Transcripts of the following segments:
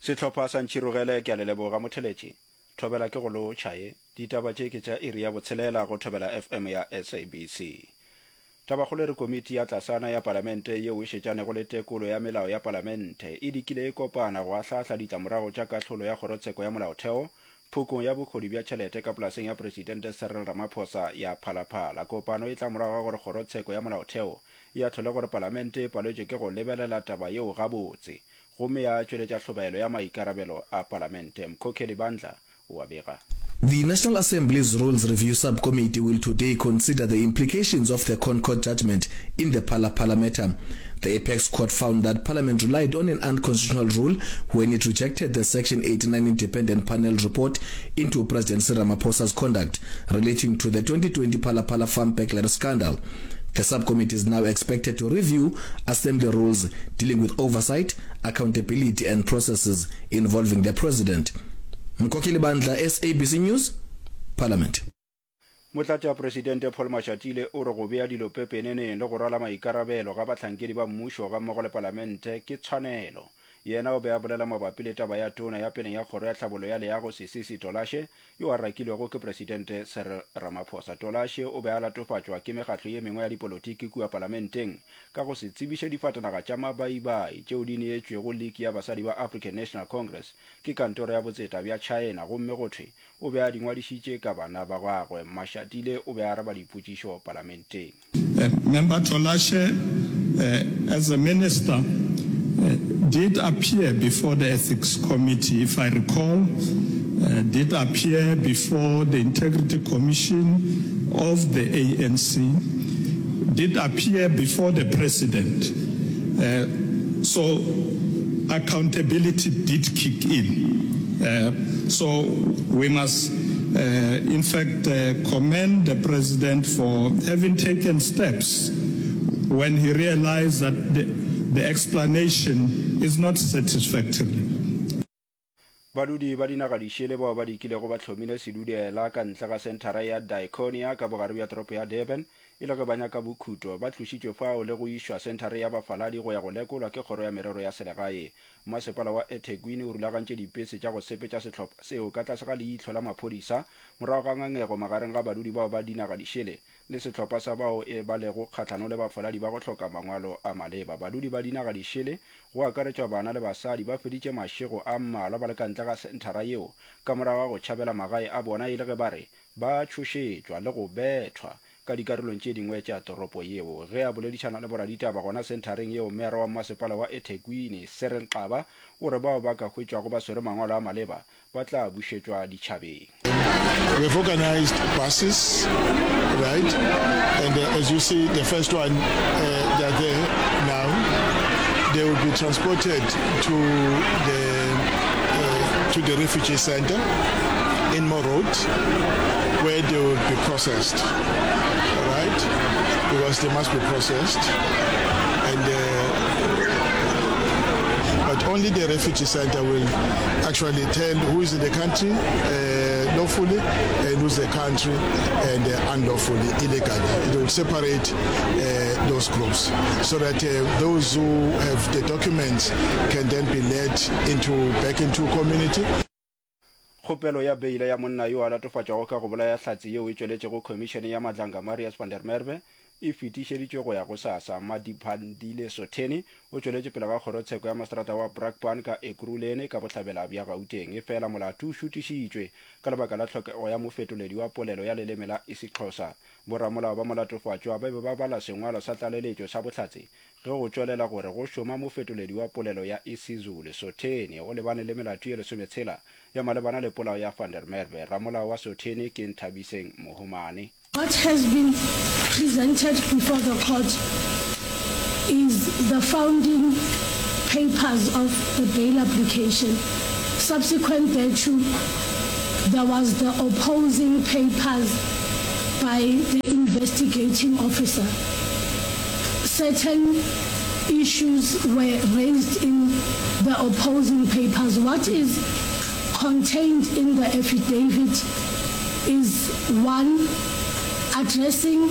Sehlopha sa Ntšhirogele ke a le leboga motheletši. Thobela ke go lotšha ye. Ditaba tše ke tša iri ya botshelela go Thobela FM ya SABC. Tabakgolo e re komiti ya tlasana ya palamente yeo e šetšanego le tekolo ya melao ya palamente e dikile e kopana go ahlaahla ditlamorago tša kahlolo ya kgorotsheko ya molaotheo phokong ya bokgoni bja tšhelete ka polaseng ya Presidente Cyril Ramaphosa ya Phalaphala. Kopano e tla morago ga gore kgorotsheko ya molaotheo e ahlole gore palamente e paletšwe ke go lebelela taba yeo gabotse gomme ya tšweletša hlobaelo ya maikarabelo a palamente. Mkhokheli Bandla o a bega. The National Assembly's Rules Review Subcommittee will today consider the implications of the ConCourt judgment in the Phala Phala matter. The apex court found that parliament relied on an unconstitutional rule when it rejected the Section 89 independent panel report into President Cyril Ramaphosa's conduct relating to the 2020 Phala Phala farm burglary scandal. The subcommittee is now expected to review assembly rules dealing with oversight, accountability and processes involving the president. Mkhokheli Bandla, SABC News, Parliament. Motlatšapresidente Paul Mashatile o re go bea dilo pepeneneng le go rwala maikarabelo ga bahlankedi ba mmušo gammogo le palamente ke tshwanelo. Yena o be a bolela mabapi le taba ya tona ya peleng ya kgoro ya tlhabollo ya leago Sisisi Tolashe yo a rakilwego ke Presidente Cyril Ramaphosa. Tolashe o be a latofatšwa ke mekgatlo ye mengwe ya dipolotiki kua palamenteng ka go se tsebiše difatanaga tša mabaibai tšeo di neetšwego liki ya basadi ba African National Congress ke kantoro ya botseta bja China gomme go thwe o be a di ngwadišitše ka bana ba gagwe. Mashatile o be a araba dipotšišo palamenteng. Member Tolashe, as a minister, did appear before the Ethics Committee, if I recall, did appear before the Integrity Commission of the ANC, did appear before the President. So accountability did kick in. So we must in fact commend the President for having taken steps when he realized that the, the explanation is not satisfactory. Badudi ba dinaga dišele bao ba dikilego ba hlomile sedudela ka ntle ga senthara ya Diaconia ka bogare bja toropo ya Durban e le ge ba nyaka bokhuto, ba tlošitšwe fao le go išwa senthare ya bafaladi go ya go lekolwa ke Kgoro ya Merero ya Selegae. Masepala wa eThekwini o rulagantše dipese tša go sepetša sehlopha seo ka tlase ga leihlo la maphodisa morago ga ngangego magareng ga badudi bao ba dinaga dišele le sehlopha sa bao e ba lego kgahlano le bafaladi ba go hloka mangwalo a maleba. Badudi ba dinaga dišele, go akaretšwa bana le basadi, ba feditše mašego a mmalwa ba le ka ntle ga senthara yeo ka morago ga go tšhabela magae a bona e le ge ba re ba tšhošetšwa le go bethwa ka dikarolong tše dingwe tša toropo yeo. Ge a boledišana le boraditaba gona senthareng yeo, Meyara wa Mmasepala wa eThekwini, Cyril Xaba, o re bao ba ka hwetšwago ba swere mangwalo a maleba ba tla bušetšwa ditšhabeng. We have organized buses, right? And uh, as you see, the first one, uh, they are there now. They will be transported to the, uh, to the refugee center in Morot, where they will be processed, all right? Because they must be processed. And uh, but only the refugee center will actually tell who is in the country uh, lawfully and who's the country and uh, unlawfully, illegally. It will separate uh, those groups so that uh, those who have the documents can then be led into back into community. Kgopelo ya beile ya monna yo a latofatšwago ka go bolaya hlatse yeo e tšweletšego Khomišene ya Madlanga Marius van der Merwe e fetišeditšwe go ya gosasa. Madiphandile Sotheni o tšweletše pele ga kgorotsheko ya maseterata wa Brakpan ka Ekurhuleni ka bohlabela bja Gauteng. Efela molato o šutišitšwe ka lebaka la tlhokego ya mofetoledi wa polelo ya leleme la isiXhosa. Boramolao ba molatofatšwa ba be ba bala sengwalo sa tlaleletšo sa bohlatse Ge go tšwelela gore go šoma mofetoledi wa polelo ya isiZulu, Sotheni o lebane le melato ye lesometshela ya malebana le polao ya Van der Merwe. Ramolao wa Sotheni ke Nthabiseng Mohomane. What has been presented before the court is the founding papers of the bail application. Subsequent thereto, there was the opposing papers by the investigating officer. Certain issues were raised in the opposing papers. What is contained in the affidavit is one, addressing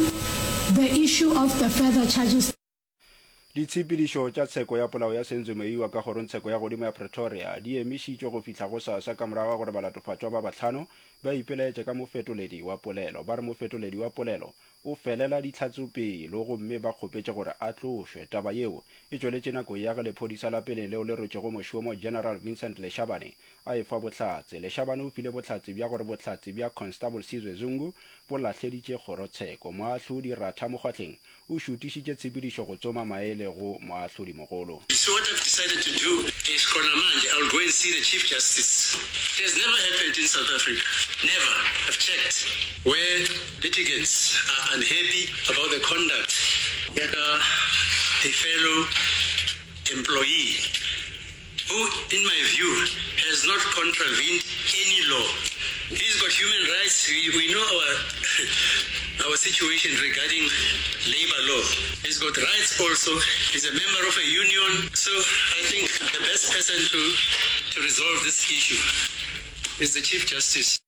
the issue of the further charges. Ditshepedišo tša tsheko ya polao ya Senzo Meyiwa ka kgorongtsheko ya godimo ya Pretoria di emišitšwe go fihla gosasa ka morago ga gore balatofatšwa ba bahlano ba ipelaetše ka mofetoledi wa polelo. Ba re mofetoledi wa polelo o felela dihlatsopelo gomme ba kgopetše gore a tlošwe. Taba yeo e tšweletše nakong ya ge lephodisa la peleng leo le rwetšego mošomo General Vincent Leshabane a efa bohlatse. Leshabane o file bohlatse bja gore bohlatse bja Constable Sizwe Zungu bo lahleditše kgorotsheko. Moahlodi Ratha Mokgwahleng o šutišitše tshepedišo go tsoma maele go moahlodimogolo. So what I've decided to do is khona manje I will go and see the Chief Justice. It has never happened in South Africa, never, I've checked, where litigants are unhappy about the conduct ya ka a fellow employee who in my view has not contravened any law. He's got human rights, we, we know our, our situation regarding labor law. He's got rights also, he's a member of a union. So I think the best person to, to resolve this issue is the Chief Justice.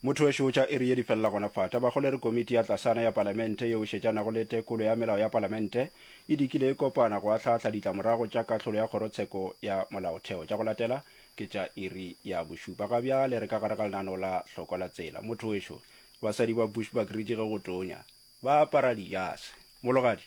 Motho wešo tša iri ye di felela gona fa. Tabakgolo e re komiti ya tlasana ya palamente yeo e šetšanago le tekolo ya melao ya palamente e dikile e kopana go ahlaahla ditlamorago tša kahlolo ya kgorotsheko ya molaotheo. Tša go latela ke tša iri ya bošupa. Ga bjale re ka gare ga lenaneo la Hlokwa la Tsela. Motho wešo, basadi ba Bushbuckridge ge go tonya ba apara dijase. Mologadi.